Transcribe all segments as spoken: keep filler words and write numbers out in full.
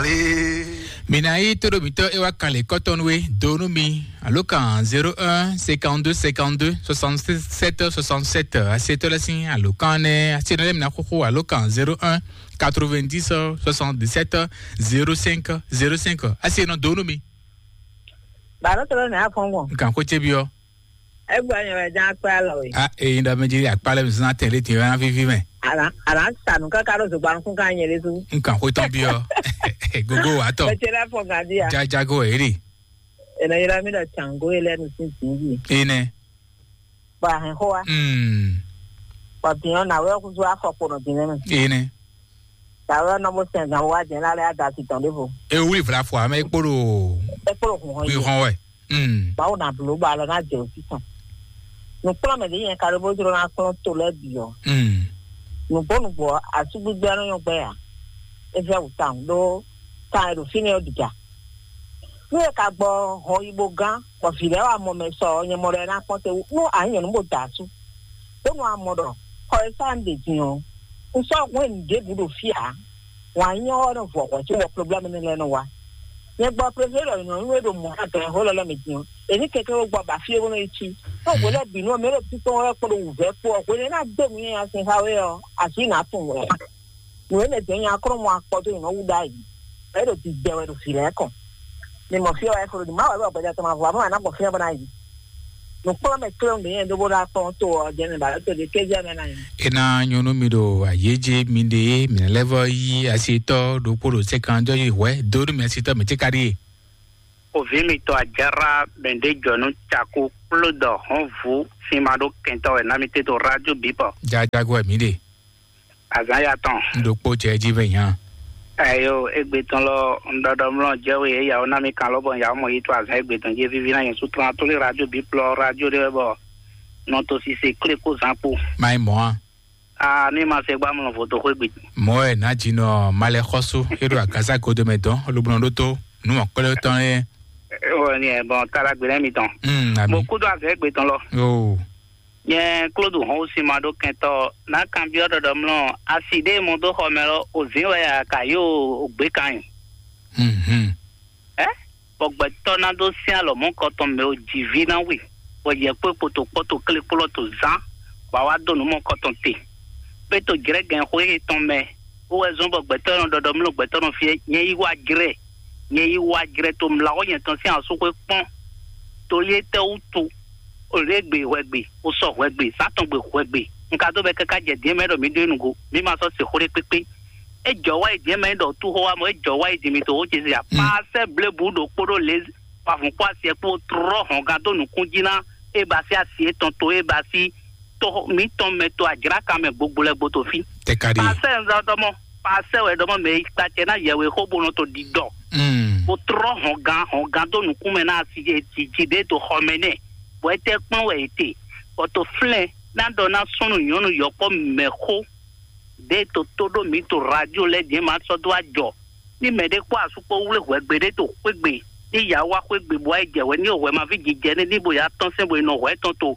Mi ná yí tóɖó mǐtɔn é wá kan lě kɔ́tɔn nú we dó nú mi. Alǒkan zéro un cinquante-deux cinquante-deux soixante-sept soixante-sept. Asetɔ́ lɛ́ɛ sín alǒkan nɛ́. Asetɔ́ lɛ́ɛ mi ná xóxó alǒkan zéro un quatre-vingt-dix soixante-dix-sept zéro cinq zéro cinq. Asetɔ́ dó nú mi. Bàbá tó lónìí àfọwọ́n. Nǹkan kó cé bí ọ. Ẹ gbọ́ ẹ̀yìn rẹ̀ já pẹ́ àlọ́ yìí. A èyí dá méjì àkpálẹ̀ mi sínú àtẹ̀lé tì rán fífí mẹ́. Àlá àlá sànù káká ló zògbà nukún ká nyẹ lé zú. Nǹkan kó tán bí ọ. Gógó wà tọ̀. Ẹ ti rẹ́ fọ gàdí à. Jájágó ẹ̀ rí. Ẹ̀nà yẹra mi lọ tàǹgó yẹ lẹ́nu sí zìí. Iná. Bọ̀ àhìn xó wa. Mm. Bọ̀ bìyàn náà wẹ́ kúzú afọ kponɔ dín nínú. Iná. Tàwé ɔ́ nɔ bó sɛn zǎn wá jɛ̌n lálẹ́ á da asi tɔn ɖěvo. E wlí vla fɔ amɛ kpóɖo. E kpóɖo hun hɔn yi. Hɔn wɛ. Mm. Báwo na bló bɔ alɔ ná jɛ òsì tɔn. Nǔkplɔ́nmɛ ɖě nyɛ ka ɖó bó jló ná kplɔ́n to lɛ́ɛ bǐ ɔ́. Mm. Nǔgbó nǔgbó ɔ́, asúgbígbé ɔ́ nɔ nyɔ́ gbɛ́ ǎ. É vɛ́ wǔ tawun ɖó kan e ɖo fínɛ́ ɔ́ ɖiga. Nú è ka gbɔ hɔn yi bó gán, bɔ vǐ lɛ́ɛ wá mɔ mɛ sɔ ɔ́, nyɛ mɔ ɖɔ é ná kpɔ́n te wú. Nú a nyí nyɔ̌nu bó da asú, bónú a mɔ ɖɔ xɔ e sá un ɖe din ɔ́, un sɔ́ hwɛ́n nǔɖébǔ ɖo fí ǎ. Wǎn nyɔ ɔ́ nɔ vɔ hwɛ̌ cóbɔ problɛ́mu énɛ́ lɛ́ɛ nɔ wá. Nyɛ gbɔ préféré ɖɔ nyɔ̌nu e ɖo mɔ̌ adɔn e xó lɛ́ lɛ́ mɛ din ɔ́, è ní kɛkɛ́ wó gbɔ ba fí e bó nɔ yi cí. Ɖó hwe lɛ́ɛ bǐ nú ɔ́, mɛ e ɖo títɔn wɛ kpó ɖo wǔvɛ́ kpó ɔ́, hwe nɛ́ ná dó nǔ nyanya sín xá we ɔ́, así nǎ tunwun wɛ. Nǔ énɛ́ jɛ́n nya klɔ́ mɔ akpɔ dó nyě nɔ wú ɖ'ayǐ. Ɛ ɖo didɛ wɛ ɖo vǐ lɛ́ɛ kɔn. Mi mɔ fí ɔ́ wɛ flo ɖi má wɛ bɔ gbɛjɛ tɔn ma vɔ amɔ ana gbɔ fí ɔ́ bɔ ná yi. Nǔkplɔ́nmɛ kléwún ɖě nyɛ ɖó bó ná kpɔ́n to ɔ́ jɛ mi ba to ɖě kézé mɛ ná yi. E ná nyɔ́ nú mi ɖo ayéjé mi ɖe mi lɛ́ vɔ yí asitɔ ɖokpó ɖo sɛ́kandɔ yi hwɛ dó nú mi asitɔ mi tí ka ɖíe. Òví mitɔn àjárá bɛ̀ndé jɔ̀nú cakú kpló dɔ hɔn vú sin ma ɖó kɛntɔ́ wɛ ná mi tɛ́ dó rádió bǐ bɔ. Jajago wɛ mǐ ɖe. Azǎn ya tɔn. Ɖokpó jɛ jí vɛ nya. Ayo, egbe tɔn lɔ, un ɖɔɖɔ mlɔ jɛ we ya na mi kan lɔ bɔ ya mɔ yi to azan egbe tɔn jɛ vivi na yẹn su tɔn atoli radio bi plɔ radio de bɔ nɔ to sise kle ko zan kpo. Mai mɔ a. Ah, mi ma se gba mlɔ voto xwe gbe. Mɔ ɛ na dzi nɔ malɛ xɔsu e ɖo agaza godo mɛ dɔn lobnɔ ɖo to nu mɔ kpɛlɛ tɔn ye. Wɔ ni ɛ bɔn tala gbe lɛ mi tɔn. Mm, ami. Mo kudo azan egbe tɔn lɔ. Oh. Nyɛ Klódu hɔn wú sin ma ɖó kɛntɔ́ ná kanbyɔ́ ɖɔɖɔ mlɔ asi ɖé mɔ dó xɔ mɛ lɔ òzín wɛ a ka yó ògbé kan nyi. Mhm. Ɛ bɔ gbɛtɔ́ ná dó sín alɔ mɔ̌ kɔtɔn mɛ o jǐví ná wi bɔ yɛ kpó kpoto kpɔ́to klé kplɔ́ to zán bɔ a wá dó nǔ mɔ kɔtɔn te. Pé to jrɛ́gɛn xwé yětɔn mɛ wó wɛ zɔ́n bɔ gbɛtɔ́ nɔ ɖɔɖɔ mlɔ gbɛtɔ́ nɔ fiɛ nyɛ yí wá jrɛ nyɛ yí wá jrɛ to mlawɔ nyɛ tɔn sín asúxwé kpɔ́n. To yé tɛ́ wútu o lě gbe hwɛgbe, o sɔ hwɛgbe, sátɔn gbe hwɛgbe. Un ka dó bɛ káká jɛ dǐn mɛ ɖɔ mǐ ɖó nugo, mǐ ma sɔ́ se xó ɖé kpékpé. É jɔ wá yi dǐn mɛ ɖɔ tú xó wá mɔ, é jɔ wá yi dǐn mǐ to xó ce zia. Paasɛ blebu ɖo kpóɖó lě wavun kpó asiɛ kpó trɔ́ hɔn gán dó nukún jí ná é ba sí asi étɔn to é ba sí to mǐtɔn mɛ to ajláka mɛ gbogbo lɛ́ gbo to fí. Tɛkari. Paasɛ nzá dɔmɔ, paasɛ wɛ dɔmɔ mɛ yi kpacɛ ná yɛwe xó bó nɔ to ɖiɖɔ. Mm. Bó trɔ́ hɔn gán hɔn gán dó nukún mɛ ná asi jiji ɖé to xɔ mɛ nɛ. Bɔ é tɛ kplɔ́n wɛ é te. Bɔ to flɛ́n ná ɖɔ ná súnnu nyɔ̌nu yɔkpɔ́ mɛ xó ɖé to tó ɖó mǐ to radio lɛ́ɛ din ma sɔ́ dó ajɔ. Ní mɛ ɖé kpó asú kpó wlé hwɛgbe ɖé to xwégbe, ní ya wá xwégbe bó wá yi jɛ hwɛ ní hwɛ ma ví jijɛ ní ní bo ya tɔ́n sɛn bo yi nɔ hwɛ tɔn to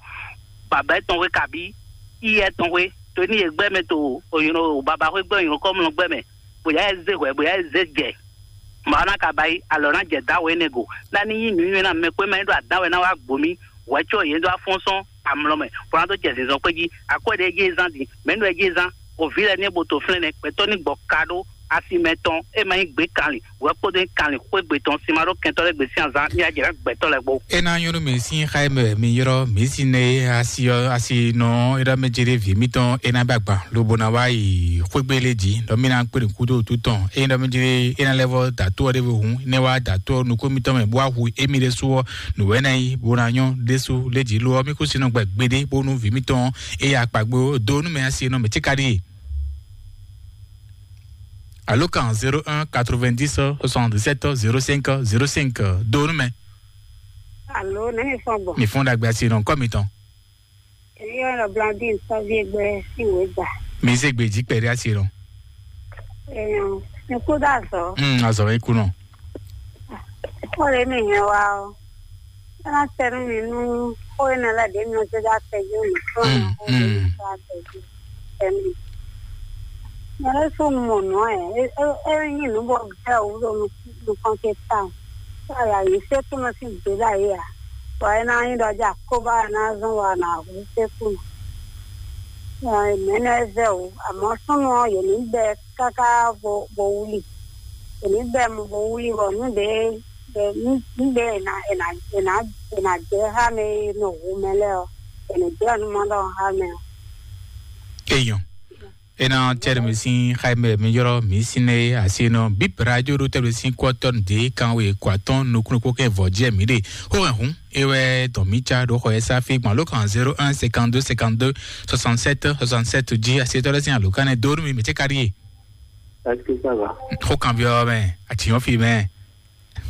baba etɔn hwe kabí iyɛ tɔn hwe. To ní yě gbɛ mɛ to òyìnbó baba hwe gbɛ òyìnbó kɔmlɔ gbɛ mɛ, bó ya zé hwɛ bó ya zé jɛ. Màá ná ka ba yi alɔ ná jɛ dá wɛ énɛ́ go. Ná ní yí nǔnywɛ́ ná mɛ kpé má nyí ɖo adá wɛ ná wá gbo mí. Hwɛ có yě ɖó afɔ́nsɔ́n amlɔ mɛ, bó ná dó jɛ zinzɔn kpé jí. Akwɛ́ ɖé jí zán din, mɛ̌ nú ɛ jí zán? Oví lɛ́ɛ ní bo to flɛ́n nɛ́, gbɛtɔ́ ní gbɔ ka ɖó asi mɛ tɔn, é ma nyí gbě kanlin, hwɛ kpódó nyí kanlin xwé gbe tɔn, sin ma ɖó kɛntɔ́ lɛ́ɛ gbe sín azán, ní ajɛ ná gbɛtɔ́ lɛ́ɛ gbo. É ná nyɔ́ nú mì sín xá e mɛ mi ylɔ́ mǐ sín nɛ asi ɔ́ asi nɔ é ɖɔ mɛ jɛ ɖé vǐ mítɔn é ná bá gban lobo ná wá yi xwégbé lé jí ɖɔ mí ná kpé nǔkúdo wútu tɔn é ɖɔ mɛ jɛ é ná lɛ́ vɔ dǎtó ɔ́ ɖěvo hǔn é ná wá dǎtó ɔ́ nukún mítɔn mɛ bó wá hu émí ɖésú ɔ́ nǔ wɛ ná nyí bó ná nyɔ́ ɖésú lé jí lo ɔ́ mí kú sin nɔ gbɛ gbeɖé bónú vǐ mítɔn é ya kpa gbé dó nú mɛ asi nɔ mɛ cíka ɖíe. Alo kan zéro un quatre-vingt-dix soixante-dix-sept zéro cinq zéro cinq dó nú mɛ. Alo, nɛ́ mi fɔ́n gbɔn? Mi fɔ́n ɖagbe asi nɔ kɔ mitɔn. Èmi yɔ nɔ Blandine Sɔvi Egbɛ sí ìwé gbà. Mi zé gbè jí kpɛɖé asi nɔ. Èèyàn mi kú dá zɔ. Hmm, azɔ mi kú nɔ. Ó lè mi yẹn wá o. Ẹ má tẹnu mi nú ó yẹn lẹ dé mi ò tó dá tẹjú mi fún Hmm, ọ̀nà ó lè hmm. mi tó dá tẹjú. Tẹnu. Mɛ ɖé sú nu mɔ nǔ ɛ, é é é nyí nǔ bɔ gbɛ wú ɖo nukɔn ce tawun. Aya yě sé kúnɔ sín gbě ɖ'ayǐ ǎ. Bɔ é ná nyí ɖɔ jɛ akóbá ɛ ná zɔ́n bɔ a nǎ hu sé kúnɔ. Mɛ̌nɛ́ vɛ́ wǔ, amɔ̌ súnnu ɔ́, yě ní bɛ́ káká bo bo wlí. Yě ní bɛ́ mɔ bo wlí bɔ nǔ ɖě ɖě nǔ nǔ ɖě è nǎ è nǎ è nǎ è nǎ jɛ xá mɛ e nɔ hu mɛ lɛ́ɛ ɔ́, è nǐ jɛ nǔ ma ɖɔ xá mɛ ɔ́. Eyɔn. Ena tɛ́ ɖo mi sín xá e mɛ mi ylɔ́ mi sín nɛ́ é asi nɔ bip radio ɖo tɛ́ ɖo sín kú ɔ́ tɔ́ nǔ dé kan we kó atɔ́n nukúnnú kpó kɛ vɔ̌ jɛ mǐ ɖe. Xó hɛn hǔn é wɛ dɔn mǐ cá ɖo xɔ ɛ sá fí gbɔn ló kan zéro un cinquante deux cinquante deux soixante sept soixante sept jí asi tɔ́ lɛ́ sín alǒkanɛ dó nú mi mǐ cɛ́ ka ɖíe. Est-ce que ça va? Xó kan byɔ́ mɛ, àtìyɔ́n fi mɛ.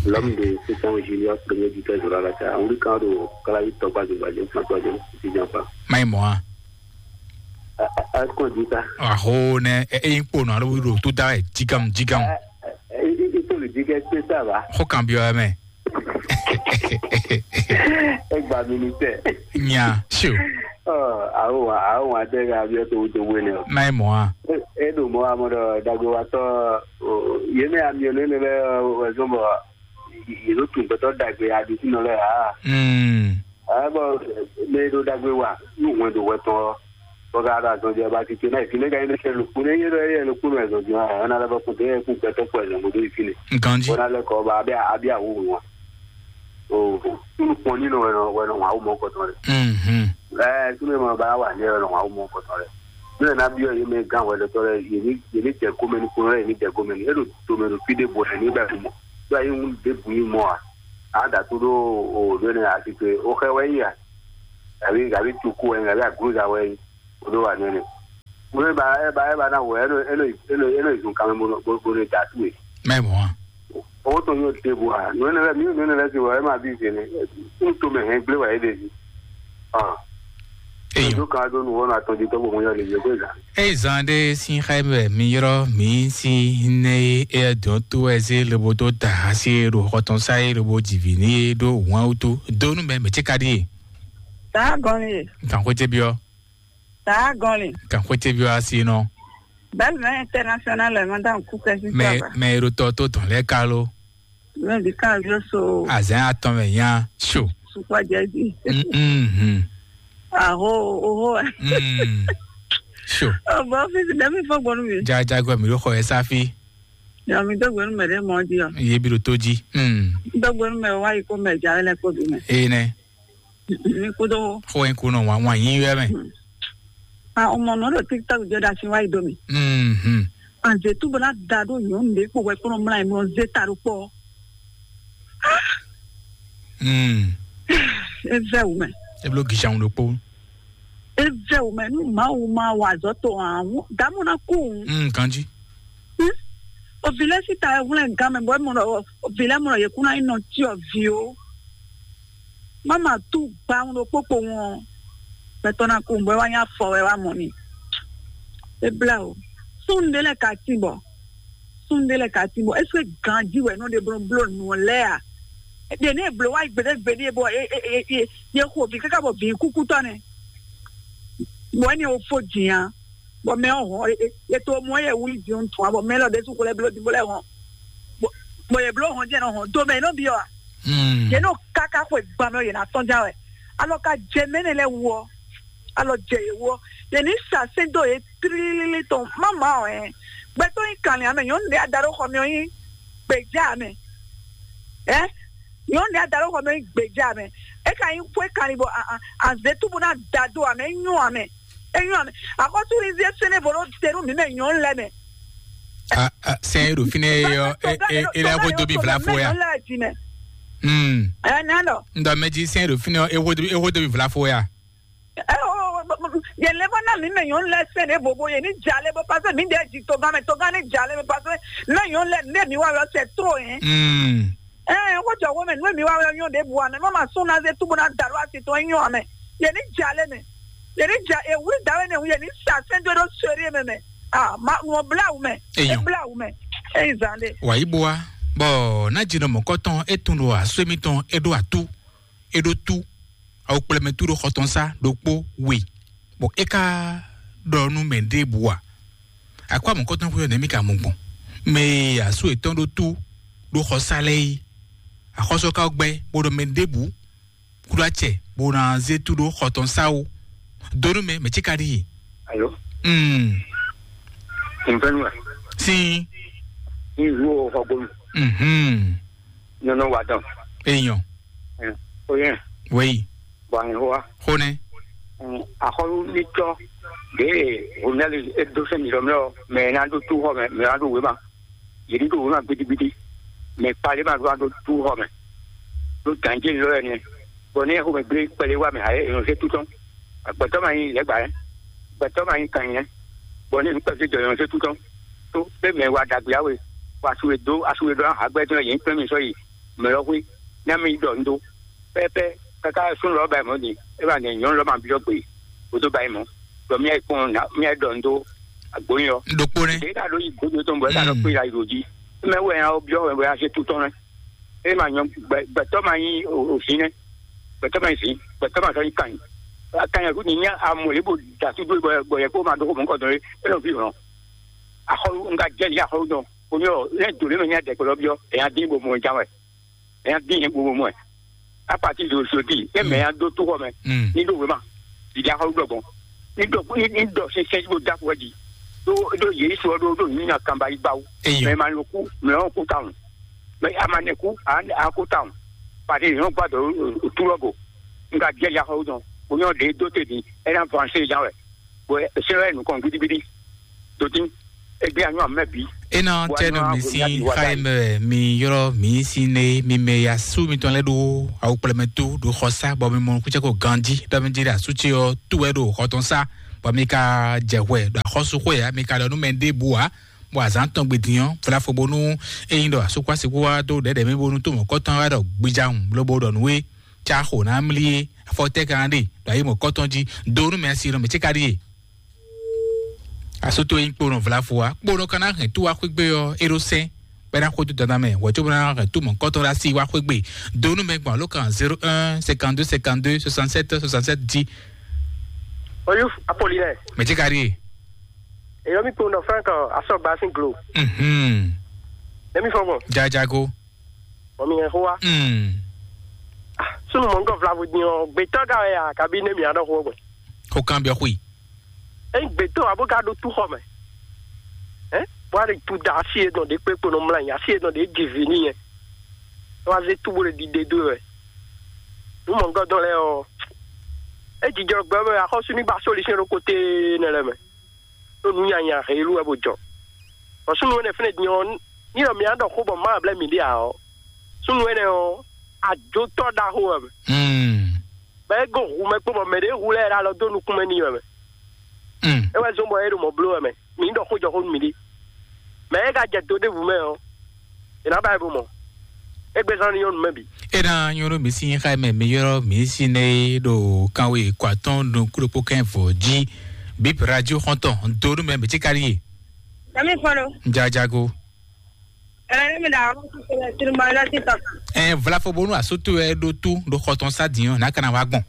L'homme de sept ans, Junior, premier du quinze, Zoralata. Wuli kan ɖo Kalayi tɔgba zogba jɛ fún tɔjɛ títí jɛ fa. Mayi mɔ a. Akɔn di ta. Aho nɛ e e kpo nɔ alo ɖo tó da wɛ jigam jigam. Itolu di kɛ kpe sa va. Xó kan byɔ́ mɛ. Egba mi ni tɛ. Nya sio. Awo wa awo wa tɛ ka byɔ́ to to wele o. Mayi mɔ a. E ɖo mɔ amɔ ɖɔ dagbe wa tɔ. Yé mɛ amiɔnɛ ne bɛ wɛzɔn bɔ yě ɖo tun gbɛtɔ́ ɖagbe aɖisínɔ lɛ́ɛ ǎ. Mm. Ɛ bɔ mɛ e ɖo ɖagbe wa nú hwɛndo hwɛ tɔn ɔ́, bɔ ka ɖo azɔn jɛ ba titun náà ìfínɛ́ ka nyí ɖo sɛ lukpó nɛ yé ɖɔ yé lukpó nɔ ɛzɔn din wa ɛna lɛ bɔ kún tɛ kún gbɛtɔ́ kpɔ ɛzɔn bó dó ìfínɛ. Ganji. Bɔ na lɛ kɔ ba abia abia wu wu wa. O nukpɔn nínú wɛ nɔ wɛ nɔ wa wú mɔ kɔtɔn rɛ. Mhm. Ɛ súnmɛ ma ba wà ní wɛ nɔ wa wú mɔ kɔtɔn rɛ. Ní ɛ ná byɔ́ yé mɛ gán wɛ lɛtɔ́ rɛ yé ní yé ní jɛ gómɛ ní kún rɛ yé ní jɛ gómɛ ní. E ɖo domɛ ɖo fí ɖé bo ɛ ní bɛ mɔ. Ɖó ayi ŋu ɖěbǔ nyí mɔ a? A da tó ɖó o ɖó ne a ti pe o xɛ wɛ yi a? Gàbí gàbí cuku wɛ yi gàbí agluza wɛ yi o ɖó wa nɛnɛ. Mo e ba e ba e ba na wɛ e ɖo e ɖo e ɖo e ɖo zun kan mɛ bo bo bo ne da tu e. Mɛ mɔ a? O to nyɔ ɖěbǔ a? Nɔ ne lɛ mi nɔ ne lɛ si wɛ e ma bi se ne. N to mɛ hɛn gblé wɛ e ɖe si. Ah. Eyo. Ɖo kan ɖo nu wɔn atɔn di tɔgbo mo yɔ le yɛ ko zan. Eye zan ɖe sín xá mɛ mi yrɔ mi si ne e dɔn to ɛ se lobo to ta asi ɖo xɔtɔn sa ye lobo dzivi ni ye ɖo wɔn wutu donu mɛ mɛ tse ka ɖi ye. Taa gɔn ye. Kan xwete biɔ. Taa gɔn le. Kan xwete biɔ asi nɔ. Belle mɛ international lɛ ma da ku kɛ si mɛ saba. Mɛ ɖo tɔ to tɔn lɛ kalo. Mɛ bi kan yo so. Azan atɔn mɛ nya so. Sukwa jɛ di. Mhm. Aho oho. Mm. So. O bɔ fisi dɛ mi fɔ gbɔnu mi. Jajagbɔ mi ɖo xɔ yɛ safi. Ya mi dɔgbe nu mɛ ɖe mɔ di ɔ. Ye bi ɖo to ji. Mm. Dɔgbe nu mɛ wa yi ko mɛ ja lɛ ko bi mɛ. Ee nɛ. Mi kudo. Xɔ yɛn ko nɔ wa wa yin yɛ mɛ. A o mɔ nɔ ɖo TikTok jɔ da si wa yi do mi. Mhm. Anze tu bɔ na da ɖo nyɔnu ɖe kpo wɛ kplɔ mla yi mɔ ze ta ɖo kpɔ. Mm. Eve wumɛ. E blo gishan ɖo kpo. Eve wumɛ nu ma wu ma wa zɔ to an. Damu na ku. Mm, kanji. Ovi lɛ si ta wɛ hwlɛn gan mɛ bɔ e mɔ ɖɔ ovi lɛ mɔ ɖɔ yě kún ná nyí nɔ cyɔ vi ó. Má ma tú gba ŋu ɖo kpókpo ŋu ɔ́, gbɛtɔ́ ná kú bɔ é wá nyí afɔ wɛ wá mɔ n'i. É blá o. Súnnu ɖé lɛ́ɛ ka tín bɔ súnnu ɖé lɛ́ɛ ka tín bɔ é sú ganjí wɛ nɔ ɖe bló bló nǔ ɔ́ lɛ́ɛ a? Ɖě ní è blǒ wá gbeɖé gbeɖé bɔ é é é é é xo bǐ káká bɔ bǐ kúkútɔ́ nɛ́. Bɔ énɛ́ ɔ́ fó jǐn a? Bɔ mɛ ɔ́ hɔn e to mɔ yɛ wuli jǐ ŋutɔn a bɔ mɛ lɔ ɖésú xlɛ́ bló dìbò lɛ́ɛ hɔn. Bɔ yɛ bló hɔn jẹ́ nɔ hɔn do mɛ nɔ byɔ́ a? Yě nɔ káká xwe gbamɛ yě ná tɔn já wɛ. Alɔ ka jɛ mɛ nɛ lɛ wɔ. Alɔ jɛ yě wɔ. Yě ní sa sɛ́n dó yě tlílílí tɔn má má ɔ ɛ. Gbɛtɔ́ yín kanlin amɛ nyɔ̌nu ɖé ada ɖó xɔ mɛ ɔ́ yín gbèjá amɛ. Ɛ nyɔ̌nu ɖé ada ɖó xɔ mɛ ɔ́ yín gbèjá amɛ. É ka nyí xwé kanlin bɔ a a azě túbú ná da dó amɛ é nyɔ́ amɛ. É nyɔ́ amɛ. Akɔ́túnrín zé sɛ́nɛ́ vo ɖó te nú mǐ mɛ nyɔ̌nu lɛ́ɛ mɛ. Sɛn e ɖo fínɛ́ e ɔ e e e lɛ ko dobi vla fo ya. Mm. Ɛ nɛ nɔ. Ndɔ mɛ jí sɛn e ɖo fínɛ́ e wo dobi e wo dobi vla fo ya. Yɛ lɛ bɔ na mi mɛ nyɔnu lɛ sɛn ɖe vovo yɛ ni dza lɛ bɔ paseke mi ɖe dzi togan mɛ togan ni dza lɛ bɔ paseke mɛ nyɔnu lɛ ne mi wa yɔ sɛ tro yɛ. Mm. Ɛɛ ko jɔ wo mɛ nu mi wa yɔ nyɔ ɖe bu amɛ mɔ ma sún na ze tubu na da ɖo asi tɔn nyɔ amɛ yɛ ni dza lɛ mɛ yɛ ni dza ewuli da wɛ ne wu yɛ ni sa sɛn do ɖo sori mɛ mɛ ah ma ŋɔ bla wu mɛ. Eyɔn. Ebla wu mɛ eyi zan de. Wàyí bo wa bɔ nájínà mɔ̀kọ́tɔn é tún ɖo asú émítɔn é ɖó atú é ɖó tú awo kplɛmɛ tú ɖo xɔtɔn sá ɖokpó we bɔ é ká ɖɔ nú mɛ ɖěbǔ a Akɔ amɔ̌kɔ́tɔn xwé ɔ́ nɛ̌ mì ka mɔ gbɔn? Mɛ e asú yětɔn ɖó tú ɖó xɔsá lɛ́ɛ é, axɔ́sú ɔ́ ka gbɛ́ bó ɖɔ mɛ ɖěbǔ kúɖó acɛ bó ná zé tú ɖó xɔ tɔn sá ó. Dó nú mɛ, mɛ cí ka ɖíe. Alo, Mm. Nfɛnua, Sín. Nzu o xɔgbonu, Mhm. Nɔnɔ wa dɔn. Èèyàn. Oyè, Wéyí. Bɔ àyìn wa. Xó nɛ. Axɔlu ní tɔ ɖe Ronald edo sɛn mi lɔ mɛ ɔ, mɛ ná ɖó tú xɔ mɛ, mɛ ná ɖó wéma. Yě ní ɖó wéma gbidigbidi. Mɛ kpalé ma ɖó ná ɖó tú xɔ mɛ. Ɖó gǎnjé lɔ ɛ nɛ. Bɔ ní ɛxó mɛ gblé kpɛlɛ wá mɛ ayé ènɔ zé tú tɔn. Gbɛtɔ ma nyí lɛgbà yɛ. Gbɛtɔ ma nyí kan yɛ. Bɔ ní nukpɛsɛ jɔ ènɔ zé tú tɔn. Tó pé mɛ wa ɖagbe awe. Wa su e dó asu e ɖó ahagbɛ tɔn yě ní kplɛ́n mi sɔ́ yi mɛ lɔ xwé. Ní ami ɖɔ un dó. Pɛ́pɛ́, káká súnnu lɔ́ ba yi mɔ̌ din, é ba nɛ nyɔ̌nu lɔ́ ma byɔ́ gbe, bó dó ba yi mɔ̌. Ɖɔ mía yi kpɔ́n ná, mía yi ɖɔ nǔ dó agbóyin ɔ́. Ɖokpó nɛ́. Ɖě ka ɖó yi gbódó tɔn bɔ é ka ɖɔ Mm. Kpé ya yi ɖo jí. É mɛ wɛ nya ɔ́ byɔ́ wɛ bɔ é ná zé tú tɔn nɛ́. É ma nyɔ gbɛ- gbɛtɔ́ ma nyí o- o vǐ nɛ́. Gbɛtɔ́ ma nyí vǐ, gbɛtɔ́ ma sɔ́ nyí kanyi. Kanyi ɔ́ ní nyá amɔ lě bó da súdú bɔ bɔ yɛ kó ma ɖó xó mɔ̌ kɔ dɔn é, é nɔ ví hlɔn. Axɔlu un ka jɛ lǐ axɔlu dɔn. Kò ní ɔ, lɛ do lě mɛ nyá dɛkpɛ lɔ byɔ́, é nya dín bó mɔ ján wɛ. Nya dín yẹn gbogbo mɔ ɛ. Apati do sodi e mɛ ya do tó xɔ mɛ. Mm. Ní ɖo wema ìdí axɔlu ɖɔ gbɔn. Ní ɖɔ ní ní ɖɔ sɛnsɛn bó da kɔ di. Ɖó ɖó yě sɔ ɖó ɖó ní na kanba yi gbawo. Eyɔ. Mɛ ma lo kú, mɛ ɔn kú tawun. Mɛ a ma nɛ kú, a a kú tawun. Pàdé yɔn gbàdọ̀ òtúrọ̀ bò. Nga jẹ́ ya xɔ dɔn. Kò ní ɔ ɖe dó te di. Ɛ na vanse ya wɛ. Bɔ ɛ sɛ wɛ nukɔn gidigidi. Dodin. Egbe anyɔ amɛ bi. Ena tɛnu mi si xayi mɛ mi yɔrɔ mi si ne mi mɛ ya su mi tɔn lɛ ɖo awu kplɛ mɛ to ɖo xɔ sa bɔ mi mɔ kutsɛ ko ganji ɖɔ mi di ɖe asu tsi ɔ tu wɛ ɖo xɔ tɔn sa bɔ mi ka jɛ hwɛ ɖo axɔsu xɔ ya mi ka ɖɔ nu mɛ ɖe bu wa bɔ azan tɔn gbe dinyɔ fla fo bonu eyin ɖɔ asu kɔ asi kó wa do ɖɛɖɛ mi bonu to mɔ kɔtɔn wa ɖɔ gbidza ŋu lobo ɖɔ nu we tsa xo na mli ye afɔ tɛ kan ɖe ɖo ayi mɔ kɔtɔn ji do nu mɛ asi nɔ mɛ tsi ka ɖi ye. Asoto yin kponɔ vlavo wa kponɔ kana hɛn tu wa xwegbe ɔ eɖo sɛn bɛ na xo do dada mɛ wɔ tso bɛ na hɛn tu mɔ kɔtɔ la si wa xwegbe donu mɛ gbɔn alo kan zéro un cinquante-deux cinquante-deux soixante-sept soixante-sept dix. Oyuf Apollinaire. Mɛ tsi ka ɖi ye. Eyɔ mi kponɔ frank asɔgba sin glo. Mhm. Ne mi fɔ gbɔn. Jajago. Mɔ mi hɛn xó wa. Mm. Sunu mɔngɔ vlavo din ɔ gbetɔ ga wɛ ya kabi ne mi adɔ xó gbɛ. Ko kan biɔ xui. Eyin gbetɔ abo ga ɖo tu xɔ mɛ. Ɛ bɔ a ɖe tu da asi yɛ dɔn ɖe kpekpe nɔ mla asi yɛ dɔn ɖe dzi vi ni yɛ. Wa ze tu bo ɖe ɖiɖe do wɛ. Nu mɔngɔ dɔn lɛ ɔ. E jijɔ gbɛ mɛ axɔsu ni ba solution ɖo kote ne lɛ mɛ. Ɖo nu nyanya helu wɛ bo jɔ. Bɔ sunu wɛ ne fɛnɛ din ɔ, ni ɖɔ mi adɔ xó bɔ ma blɛ mi ɖe a ɔ. Sunu wɛ ne ɔ, ajotɔ ɖaxo wɛ mɛ. Mm. Bɛ e go hu mɛ kpó bɔ mɛ ɖe hu lɛ ɖe alɔ dó nukún mɛ n'i wɛ mɛ. Mm. E wɛ zɔn bɔ e ɖo mɔ bló wɛ mɛ. Mi ɖɔ xó jɔ xó nú mi ɖi. Mɛ e ka jɛ do ɖěbǔ mɛ ɔ, è nǎ ba e bo mɔ. Égbé zán ní nyɔ́nu mɛ bǐ. Ena nyɔnu mi si xa mɛ mi yɔrɔ mi si ne ɖo kanwe kɔ atɔn nukúɖokpó kɛn vɔ jí. Bip radio xɔntɔn do nu mɛ mi tsi kari ye. Kami fɔlɔ. Jajago. Ɛlɛ ne mi da awɔ kutu lɛ tiri ma lɛ ti tɔ kan. Ɛ vlafo bonu asoto ɛ ɖo tu ɖo xɔtɔn sa diɔ na kana wa gbɔn.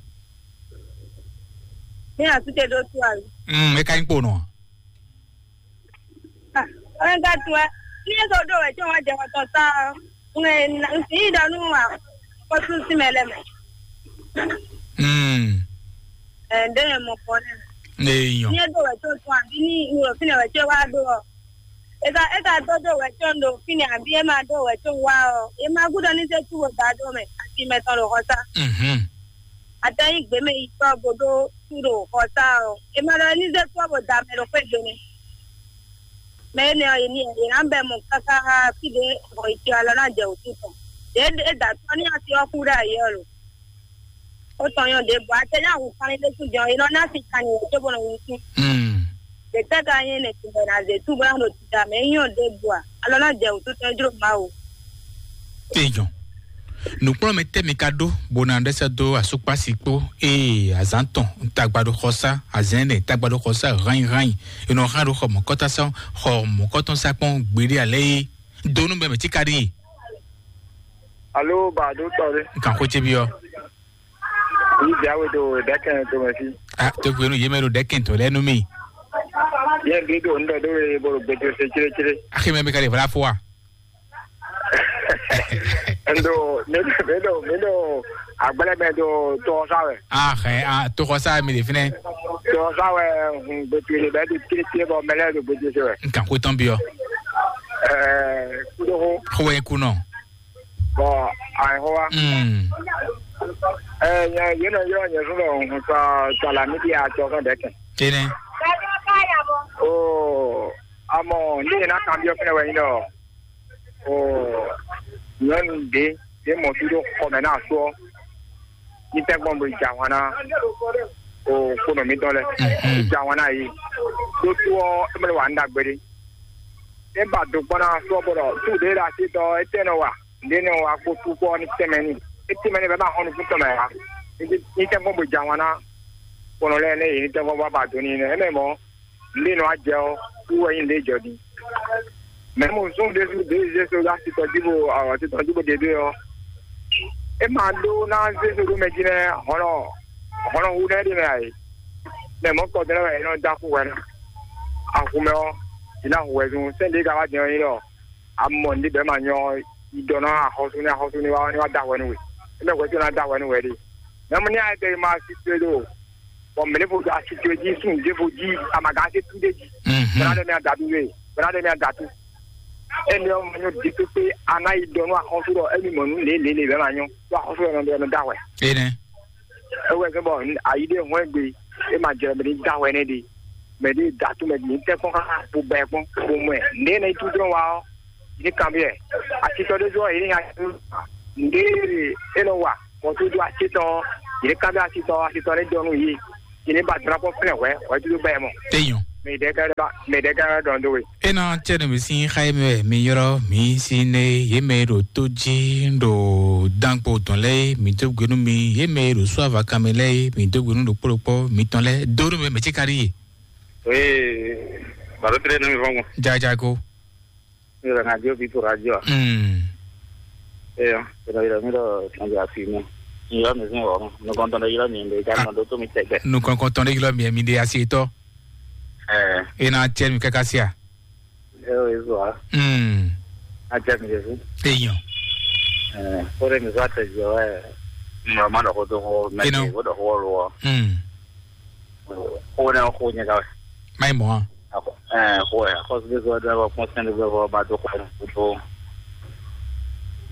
Mi asute ɖo tu ali. Mm, e ka nyi kpo nɔ. Ɔn ka tu ɛ. Ni e so ɖo wɛ tí wọn jɛ xɔtɔn sa ɔ. Ŋɛ na ŋsi yi ɖɔ nu wa. Kɔsu si mɛ lɛ mɛ. Mm. Ɛ ɖe yɛ mɔ kɔ nɛ. Ne yɔ. Ni e ɖo wɛ tó tún àbí ní ìwé òfin wɛ tí wàá ɖó ɔ. Eka eka tó ɖó wɛ tó ń ɖo òfin àbí e máa ɖó wɛ tó ń wá ɔ. E máa gúdɔ ní sẹ́ tú wò dá ɖó mɛ àti mɛ tɔn ɖo xɔ sá. Mhm. Atɛ nyi gbeme yi tɔ bo ɖo tu ɖo xɔ sá ɔ. E ma ɖɔ ní zé tɔ bo da mɛ ɖo xwé gbe nɛ. Mɛ énɛ́ ɔ́, yě ní yě ná bɛ mɔ káká fí ɖé bɔ yě ce alɔ ná jɛ wǔtu tɔn. Ɖě é da tɔ́ ní asi ɔ́ kú ɖe ayǐ ɔ́ lo. Ó tɔn nyɔ́ ɖěbǔ, atɛ nyá hu kanlin ɖé sú jɔn, è nɔ ná sin kanlin wǒ cóbó nɔ wuntun. Hmm. Ɖě tɛ́ ka nyí nɛ̌ tun bɔ è nǎ zě tú bó ná ɖo tita mɛ? É nyɔ́ ɖěbǔ a? Alɔ ná jɛ wǔtu tɔn jló Mawu. Eyɔn. Nǔkplɔ́nmɛ tɛ́ mi ka ɖó bó ná ɖɛ́ sɛ́ dó asúkpási kpó ée azǎn tɔn tagba ɖo xɔ sá, azɛ̌n nɛ tagba ɖo xɔ sá hányi hányi, è nɔ hán ɖo xɔ mɔ̌kɔ́tɔn sá, xɔ mɔ̌kɔ́tɔn sá kpɔ́n gbeɖé alɛ́ é dó nú bɛmɛ tí ka ɖíe. Alo, ba ɖo tɔ ɖe. Kan xó ce byɔ́. Yi jawe ɖo ɖɛkɛn to mɛ fí. Ah, to gbenu yé mɛ ɖo ɖɛkɛn to lɛ nú mi. Yɛn ɖi ɖo ŋɖɛ ɖo ye bolo gbete se cléclé. Axi mɛ mi ka ɖe vla fo wa? Ndo mi ɖo mi ɖo mi ɖo agblɛ mɛ ɖo tɔsa wɛ. Ah, eh, ah, to xɔ sa mi ɖe finɛ. Tɔsa wɛ hun gbete le bɛ ɖo cléclé bɔ mɛ lɛ ɖo gbete se wɛ. N kan ko tɔn bi ɔ. Ɛɛ kudo ho. Xo wɛ ku nɔ. Bɔn ayi ho wa. Mm. Ɛɛ yɛn yɛn nɔ yɔ nyɛ sɔrɔ hun sa sa la mi di a tɔ fɛn bɛ kɛ. Tene. Oo, amɔ ní yẹn ná kanbyɔ́ fɛnɛ wɛ nyí ɖɔ oo, nyɔ̌nu ɖě ɖě mɔ fí ɖó xɔ mɛ ná asú ɔ́, ní tɛ́gbɔn bo yi jɛ ahwan ná oo, kponɔ mǐtɔn lɛ́ɛ. Mhm. Yi jɛ ahwan ná yě. Ɖó tó ɔ́, é mɛ wǎ ní ɖagbe ɖé. É ba do kpɔ́n ná asú ɔ́, bɔ ɖɔ sú ɖě ɖo así tɔn ɔ́, étɛ́ nɔ wa? Ɖě nɔ wa kpó sú kpɔ́ ní tɛnmɛ ní. É tɛnmɛ ní bɔ é ma xɔ nukún tɔn mɛ ǎ. Ní tɛ́gbɔn bo yi jɛ ahwan ná kponɔ lɛ́ɛ nɛ́ yě ní tɛ́gbɔn bó ba do n'i nɛ́. É mɛ mɔ̌, nɖé nɔ wá jɛ ɔ́, wú wɛ nyí nɖé jɔ din. Mɛ mo zɔn ɖésú ɖě zé so ɖó asitɔ jí bo awɔtitɔ jí bo ɖe ɖé ɔ́, é ma ɖó ná zé so ɖó mɛ jí nɛ́ hɔnɔ hɔnɔ hu nɛ́ ɖé mɛ ǎ é. Mɛ mɔ̌ kɔ dɛ́ lɛ́ wɛ é nɔ dó axú hwɛ ná. Axu mɛ ɔ́, jí ná hu wɛ zun sɛ́n ɖě ka wá din ɔ́ nyí ɖɔ amɔ nɖé bɛ́ ma nyɔ yi ɖɔ ná axɔ́sú ní axɔ́sú ní wá ní wá dó ahwɛ nú we. É mɛ hwɛ tó ná dó ahwɛ nú we ɖe. Mɛ mo ní ayɛ tɛ ma si to ɖo bɔ mɛ ɖěvo ɖo asi towe jí, sun ɖěvo jí, amagán ase tú ɖé jí. Mhm. Bɛ́ ná ɖɔ mì adatu wé, bɛ́ ná ɖɔ mì adatu. Énɛ́ ɔ́, ma nyɔ́ ɖi pépé, a ná yi ɖɔ nú axɔ́sú ɖɔ émí mɔ nǔ lě lě lě bɛ́ ma nyɔ́, ɖó axɔ́sú ɔ́ nɔ ɖɔ nɔ dó awɛ. Énɛ́. É wɛ zɔ́n bɔ ayi ɖé hɔn gbe, é ma jɛ mɛ ní dó awɛ nɛ́ ɖe. Mɛ ɖé datu mɛ ní tɛ́ kpɔ́n xá bo bɛ kpɔ́n bo mɔ ɛ. Nɛ̌ nɔ yi tú dɔn wa ɔ́, ní kanbyɔ́ ɛ. Atitɔ ɖé zɔ́ yě ní nya nǔɖé e nɔ wa mɔ̌ tó dó acétɔn ɔ́, yě ní kanbyɔ́ atitɔ ɔ́, atitɔ ní dɔn nú yě. Yě ní ba drapo flɛ́n hwɛ̌, hwɛ̌ dúdú bá ɛ mɔ. Eyɔn. Mɛ ɖɛ̌ ká ɖɔ mɛ ɖɛ̌ ká ɖɔ dó we. Ena cɛ ne mi sin xa ye mɛ mi yɔrɔ mi si ne ye mɛ ɖo tó jí ɖo dankpo tɔn lɛ mi tó gbenu mi ye mɛ ɖo suava kan mɛ lɛ mi tó gbenu ɖo kpɔ́ɖokpɔ mi tɔn lɛ dó ɖo mɛ mɛ tsi ka ɖi ye. Oui, baro tɛlɛ ne mi fɔn. Jaja ko. Yɔrɔ na dio bi to radio. Hmm. Eya, yɔrɔ yɔrɔ mi ɖɔ tɔnjɔ afi mi. Yɔrɔ mi sin wɔ, mi kɔntɔn ɖe yɔrɔ mi ɖe ja nɔ ɖo tó mi tɛgbɛ. Nu kɔnkɔntɔn ɖe yɔrɔ mi mi ɖe asi tɔ. Eh. Ena cɛ mi kaka sia. Eyo ezo a. Hmm. A cɛ mi ɖe si. Eyɔn. Eh, kore mi zɔ atɛ jɔ ɛ. Mɔ ma ɖɔ ko to ko mɛ. Eno. Ko ɖɔ ko lo. Hmm. Ko ne ko nya ka. Mai mo. Ɛɛ, xo ɛ, xɔsúgbésú ɔ́ ɖɔ wɛ kpɔ́n sɛ́n ɖé vɔ ba dó xɔ ɛ kútó.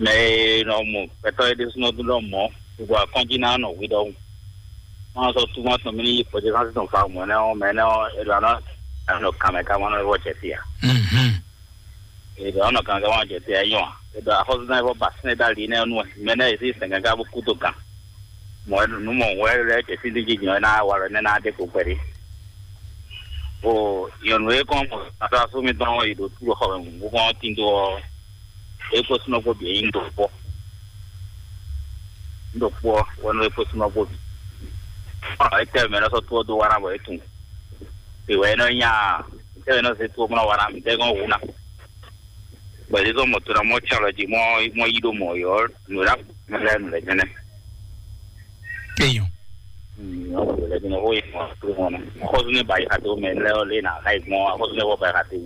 Mɛ e nɔ mɔ gbɛtɔ́ é ɖésúnɔ dún ɖɔ mɔ̌, gbogbo akɔ́njí ná nɔ hwi ɖɔhun. Má sɔ́ túmọ̀ tɔn mì ní yi kpɔ́jɛ sánsì tɔn fa mɔ̌ nɛ́ ɔ́, mɛ nɛ́ ɔ́, è ɖɔ anɔ anɔ kan mɛ ká má nɔ vɔ jɛ fí ǎ. Mhm. È ɖɔ anɔ kan mɛ ká má nɔ jɛ fí ǎ é nyɔ́ ǎ. È ɖɔ axɔ́súzán é vɔ ba sɛ́n ɖó ali nɛ́ ɔ́ nú wɛ, mɛ nɛ́ è sí sɛn gán ká bó kú dó gǎn. Mɔ̌ wɛ nǔ mɔ wɛ lɛ́ jɛ fí dín jí nyɔ̌ ná wa lɔ nɛ́ ná ɖe kpo kpɛɖé. O nyɔ̌nu e kɔn mɔ asasú mitɔn ɔ́ yi ɖo tú ɖo xɔ mɛ bó kɔn tín dó ɔ́, é kó súnɔ kpó bǐ é nyí ɖo kpɔ́. Ɖo kpɔ́ wɛ nú é kó súnɔ kpó bǐ. Ɔ é tɛ mɛ lɔ sɔ́ tó ɔ́ dó wa ná bɔ é tunwun. È wɛ é nɔ nya tɛ mɛ nɔ se tó mɔ wa ná mi tɛ gɔn wu ná. Bɔ é zɔn mɔ to ná mɔ tsalɔ jí mɔ mɔ yí ɖo mɔ yɔ nǔ ɖa mɛ lɛ nǔ lɛ jɛnɛ. Eyɔn. Xɔsúnɛ ba yi xa tó mɛ lɛ ɔ lé na xa yi gbɔn xɔsúnɛ bɔ ba yi xa tó.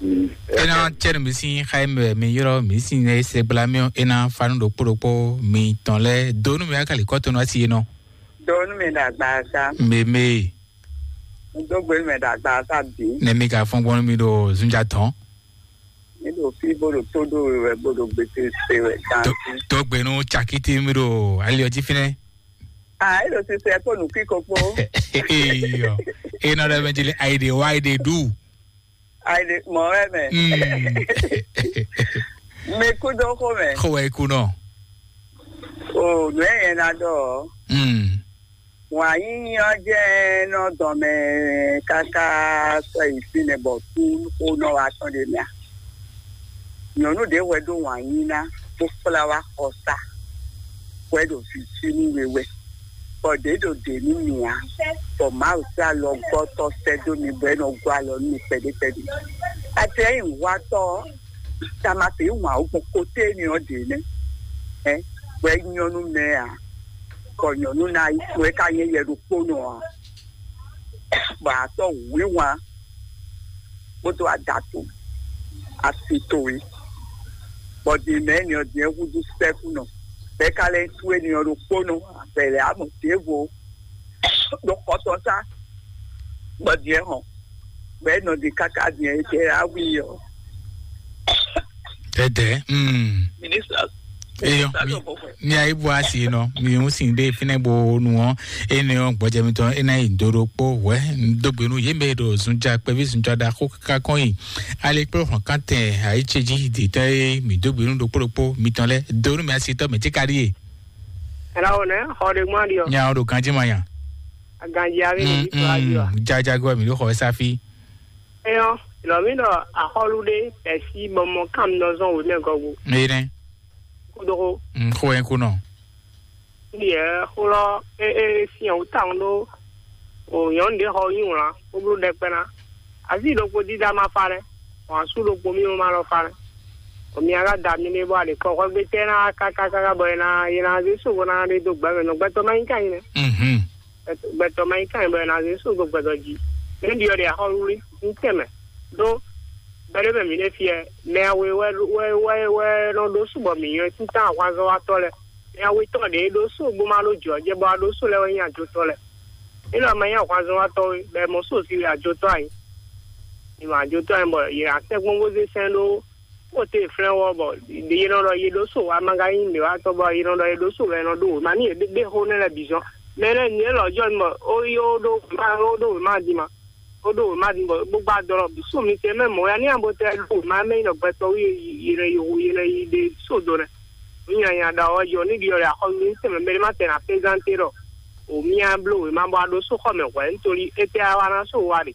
Mhm. Ena cɛ mi si xa yi mɛ mi yɔrɔ mi si ne se gbla mi ena fanu ɖokpo ɖokpo mi tɔn lɛ donu mi akali kɔtɔnu asi yenɔ. Donu mi na gba sa. Meme. Dogbe mi na gba sa bi. Ne mi ka fɔn gbɔn mi ɖo zunja tɔn. Mi ɖo fí bó ɖo tó ɖó we wɛ bó ɖo gbete se wɛ ganti. Tó gbenu cakiti mi ɖo ali ɔtí fínɛ. Ah, e ɖo sise kpó nukí kokpo. Eyɔ. Ena ɖe mɛ jeli ayi de wa ayi de du. Ayi de mɔ wɛ mɛ. Mm. Mi kú dó xó mɛ. Xó wɛ ikú nɔ. O nù ɛ yẹn na dɔ. Mm. Wǎn yíyí ɔ́ jẹ́ nɔ dɔn mɛ káká sɔ́ yi fínɛ́ bɔ kú xó nɔ wá tɔn ɖe mɛ a? Nyɔ̌nu ɖě hwɛ ɖó wǎn yí ná bó kplá wá xɔsá hwɛ ɖo vǐví nú we wɛ, bɔ ɖě ɖo ɖě nú mì ǎ, bɔ Mawu sín alɔgɔ́tɔ́ sɛ́ dó mi bɔ é nɔ gɔ́ alɔ nú mi kpɛɖé kpɛɖé. Ati ɛ nyí nǔwatɔ́ ɔ́, tamase wǎn wú gbɔn koté énɛ́ ɔ́ ɖě nɛ́. Ɛ hwɛ nyɔ́ nú mɛ ǎ, bɔ nyɔ̌nu ná yi wɛ ká nyɛ yɛ ɖokpónɔ ǎ. bɔ a tɔ́ wǐwá kpódó adato asi towe, bɔ din mɛ ni ɔ́ din húzú sɛ́kúnɔ, bɛ́ ka lɛ́ sú éni ɔ́ ɖokpónɔ abɛlɛ amɔ ɖěvo ɖo xɔtɔn sá, bɔ din hɔn, bɛ́ nɔ din káká din etɛ awi ɔ́. Dɛdɛ. Mm. Minister, Eyɔ, mi, mi ayi bu asi nɔ, mi ŋu sin ɖe fínɛ bo nu ɔ́, ene ɔ́ gbɔjɛ mitɔn ena yi do ɖokpó wɛ, dógbenu yé mɛ ɖo zunja kpɛví zunja ɖaxó kaka kɔn yi. Ale kplɔ hɔn kantɛ ayi tse jí de tɛ e mi dógbenu ɖokpó ɖokpó mitɔn lɛ donu mi asi tɔ mɛ tí ka ɖi ye. Ela wo nɛ xɔ ɖe gbɔn ɖi ɔ. Nya o ɖo ganji ma nya. Ganji avi ni bi to ayi wa. Jajago mi ɖo xɔ safi. Eyɔ, lɔ mi ɖɔ axɔlu ɖe pɛsi bɔ mɔ kam nɔ zɔn wǒ mɛ gɔgu. Eye nɛ. Kudogo. Xo yɛn kunɔ. Yɛ xlɔ e e sinyɛ wò tawun ɖo o nyɔnu ɖe xɔ nyi wlan kpóbló ɖɛkpɛ ná. Asi ɖokpó dídá ma fa lɛ, wọn asú ɖokpó mi ma lɔ fa lɛ. O mi aga da mi ɖe bɔ ale kɔ xɔgbe tɛ na kaka kaka bɔ yena yena ze so bɔ na ɖe do gbɛ mɛ nɔ gbɛtɔ ma nyi ka nyi nɛ. Mhm. Gbɛtɔ ma nyi ka nyi bɔ yena ze so do gbɛtɔ ji. Ne ɖi ɔ ɖe axɔ wuli n tɛ mɛ. Ɖo gbɛɖe mɛ mi ɖe fiɛ mɛ awe wɛ wɛ wɛ wɛ nɔ ɖo subɔ mi nyɔ titan ahwanzɔwatɔ lɛ. Mɛ awe tɔn ɖe ɖo so bó ma ɖo jɔ jɛ bɔ a ɖo so lɛ wɛ nyi ajotɔ lɛ. Ena ma nyi ahwanzɔwatɔ we bɛ mɔ so si ajotɔ anyi. Ni ma ajotɔ anyi bɔ yɛ asɛgbɔn bó zé sɛn ɖó kpɔte flɛ́n wɔ bɔ yé nɔ ɖɔ yé ɖó so wá ma ka nyí nǔɖéwatɔ bɔ yé nɔ ɖɔ yé ɖó so wɛ nɔ ɖó wěma ní yě ɖé xó nɛ́ lɛ́ɛ bǐ zɔn. Mɛ lɛ́ɛ nyɛ lɔ jɔ bɔ ó yi ó ɖó wěma ó ɖó wěma din ma. Ó ɖó wěma din bɔ bó gba dɔ lɔ bǐ so mi se mɛ mɔ̌ ya ní abo tɛ ɖó wěma mɛ nyí nɔ gbɛtɔ́ wí yé nɔ yi yé nɔ yi ɖe so do nɛ. Nú nyanya ɖɔ ɔ́ jɔ ní ɖi ɔ́ ɖe axɔ́ ní tɛmɛ mɛ ɖé má tɛ na prézanté ɖɔ o mía bló wěma bɔ a ɖó so xɔ mɛ hwɛ̌ nítorí étɛ́ a wá ná so wa ɖe.